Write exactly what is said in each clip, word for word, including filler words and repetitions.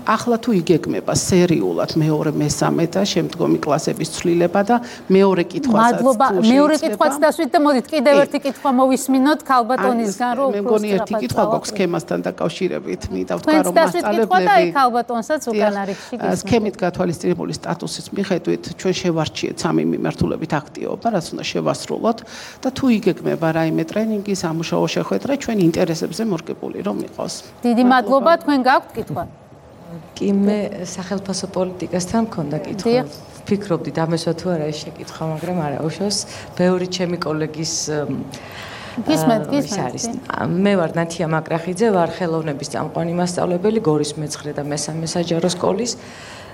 ახლა თუ იგეგმება სერიულად მეორე მესამე და შემდგომი კლასების ცვლილება და მეორე კითხვასაც მადლობა მეორე კითხვაც დასვით და მოდით კიდევ ერთი კითხვა მოვისმინოთ ქალბატონისგან რომ მე მგონი ერთი კითხვა გვაქვს სქემასთან დაკავშირებით მინდა ვთქვა რომ მასწავლებლები ქალბატონსაც უკან არის სქემით გათვალისწინებული სტატუსის მიხედვით ჩვენ შევარჩიეთ სამი მიმართულებით აქტივობა რაც უნდა შევასრულოთ და თუ იგეგმება რაიმე ტრენინგი სამუშაო შეხვედრა ჩვენ ინტერესებზე მორგებული რომ იყოს დიდი მადლობა თქვენ გაქვთ კითხვა კი მე სახელმწიფო პოლიტიკასთან მქონდა კითხვა ფიქრობდი დამესვა თუ არა ეს შეკითხვა მაგრამ არა უშავს ბევრი ჩემი კოლეგის გისმენთ გისმენთ მე ვარ ნათია მაკრახიძე ვარ ხელოვნების წამყვანი მასწავლებელი გორის მეცხრე და მესამე საჯარო სკოლის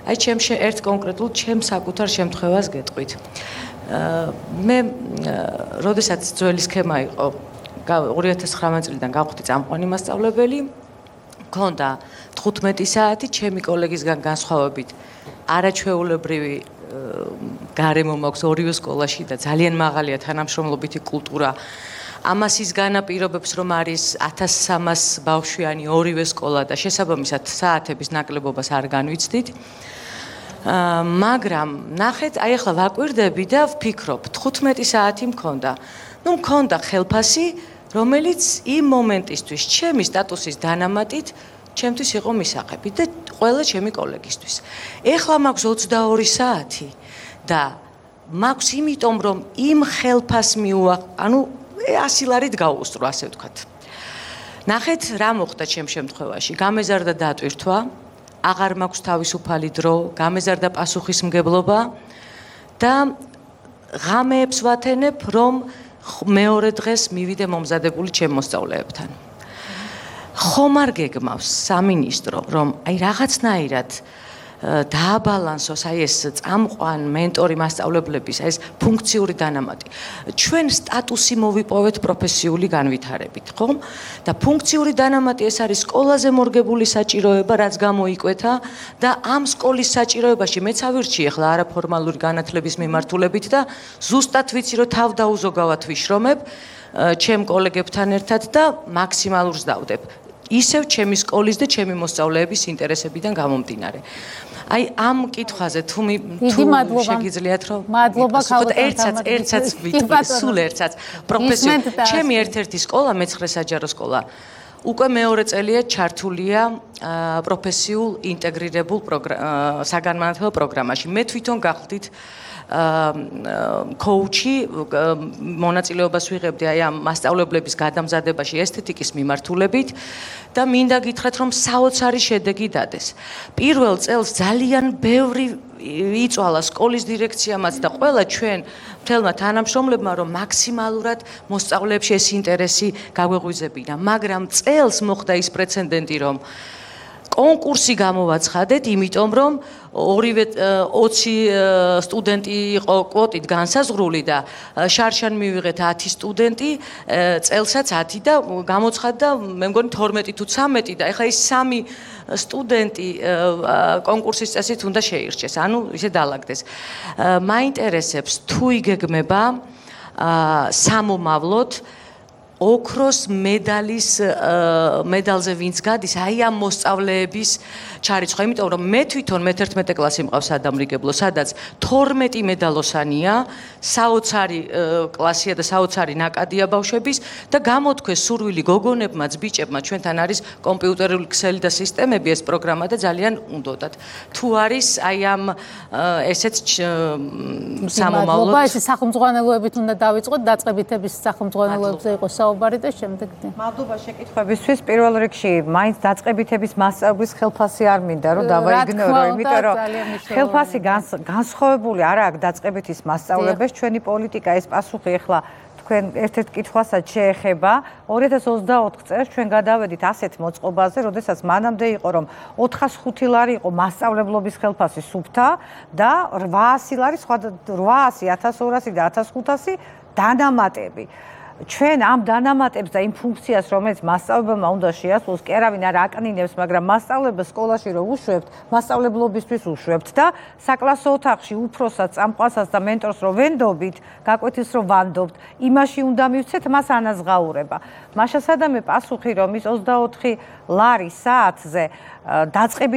აი ჩემში ერთ კონკრეტულ ჩემს საკუთარ შემთხვევას გეტყვით მე როდესაც ძველი სქემა იყო ორი ათას ცხრამეტ წლიდან გავხდი წამყვანი მასწავლებელი მქონდა თხუთმეტი საათი ჩემი კოლეგისგან განსხვავებით არაჩვეულებრივი გარემო მაქვს ორივე სკოლაში და ძალიან მაღალია თანამშრომლობითი კულტურა ამას ის განაპირობებს რომ არის ათას სამას ბავშვიანი ორივე სკოლა და შესაბამისად საათების ნაკლებობას არ განვიცდით მაგრამ ნახეთ აი ახლა ვაკვირდები და ვფიქრობ თხუთმეტი საათი მქონდა ну მქონდა ხელფასი რომელიც იმ მომენტისთვის ჩემი სტატუსის დანამატით ჩემთვის იყო მისაღები და ყველა ჩემი კოლეგისთვის ეხლა მაქვს ოცდაორი საათი და მაქვს იმიტომ რომ იმ ხელფასს მიუა ანუ ასი ლარით გავუსწრო ასე ვთქვათ ნახეთ რა მოხდა ჩემ შემთხვევაში გამეზარდა დატვირთვა აღარ მაქვს თავისუფალი დრო გამეზარდა პასუხისმგებლობა და ღამეებს ვათენებ რომ მეორე დღეს მივიდე მომზადებული ჩემ მოსწავლეებთან ხომ არ გეგმავს სამინისტრო რომ აი რაღაცნაირად დააბალანსოს აი ეს წამყვან მენტორი მასწავლებლების აი ეს ფუნქციური დანამატი ჩვენ სტატუსი მოვიპოვეთ პროფესიული განვითარებით ხომ და ფუნქციური დანამატი ეს არის სკოლაზე მორგებული საჭიროება რაც გამოიკვეთა და ამ სკოლის საჭიროებაში მეც ავირჩიე ახლა არაფორმალური განათლების მიმართულებით და ზუსტად ვიცი რომ თავდაუზოგავად ვიშრომებ ჩემ კოლეგებთან ერთად და მაქსიმალურს დავდებ ისევ ჩემი სკოლის და ჩემი მოსწავლეების ინტერესებიდან გამომდინარე აი ამ კითხვაზე თუ შეგიძლიათ რომ მადლობა ერთსაც ერთსაც ვიტყვი სულ ერთსაც პროფესიულ ჩემი ერთ-ერთი სკოლა მეცხრე საჯარო სკოლა უკვე მეორე წელია ჩართულია პროფესიულ ინტეგრირებულ საგანმანათლებლო პროგრამაში მე თვითონ გახდით კოუჩი მონაწილეობას ვიღებდი აი ამ მასწავლებლების გადამზადებაში ესთეტიკის მიმართულებით და მინდა გითხრათ რომ საოცარი შედეგი დადეს. პირველ წელს ძალიან ბევრი იწვალა სკოლის დირექციამაც და ყველა ჩვენ მთელმა თანამშრომლებმა რომ მაქსიმალურად მოსწავლეებში ეს ინტერესი გაგვეღვიძებინა, მაგრამ წელს მოხდა ის პრეცედენტი რომ კონკურსი გამოვაცხადეთ, იმიტომ რომ ორივე ოცი სტუდენტი იყო კვოტით განსაზღვრული და შარშან მივიღეთ ათი სტუდენტი, წელსაც ათი და გამოცხადდა, მე მგონი თორმეტი თუ ცამეტი და ეხლა ის სამი სტუდენტი კონკურსის წესით უნდა შეირჩეს, ანუ ისე დაალაგდეს. მაინტერესებს თუ იგეგმება სამომავლოდ ოქროს მედალის მედალზე ვინც გადის, აი ამ მოსწავლეების ჩარიცხვა, იმიტომ რომ მე თვითონ მეთერთმეტე კლასი მყავს სადამრიგებლო, სადაც თორმეტი მედალოსანია, საოცარი კლასია და საოცარი ნაკადია ბავშვების და გამოთქვეს სურვილი გოგონებმაც, ბიჭებმა, ჩვენთან არის კომპიუტერული ქსელი და სისტემები, ეს პროგრამა და ძალიან უნდოდათ. თუ არის აი ამ ესეც სამომავლოდ ეს სახელმძღვანელოებით უნდა დავიწყოთ, დაწყებითების სახელმძღვანელოებზე იყოს საუბარი და შემდეგ. მადლობა შეკითხვებისთვის. პირველ რიგში მაინც დაწყებითების მასწავლებლის ხელფასი არ მინდა რომ დავაიგნორო, იმიტომ რომ ხელფასი განსხვავებული არა აქვს დაწყებითის მასწავლებელს, ჩვენი პოლიტიკა ეს პასუხი ახლა თქვენ ერთ-ერთ კითხვასაც შეეხება. ორი ათას ოცდაოთხ წელს ჩვენ გადავედით ასეთ მოწყობაზე, როდესაც მანამდე იყო რომ ოთხასი ლარი იყო მასწავლებლობის ხელფასი სუფთა და რვაასი ლარი, სხვა რვაასი, ათას ორასი და ათას ხუთასი დანამატები. ჩვენ ამ დანამატებს და იმ ფუნქციას, რომელიც მასწავლებელმა უნდა შეასრულოს, კი არავინ არ აკნინებს, მაგრამ მასწავლებელს სკოლაში რო უშვებთ, მასწავლებლობისთვის უშვებთ და საკლასო ოთახში უფროსაც, წამყვანსაც და მენტორს რო ვენდობით, გაკვეთის რო ვანდობთ, იმაში უნდა მივცეთ მას ანაზღაურება. მაშასადამე პასუხი რომ ის ოცდაოთხი ლარი საათზე დაწყებით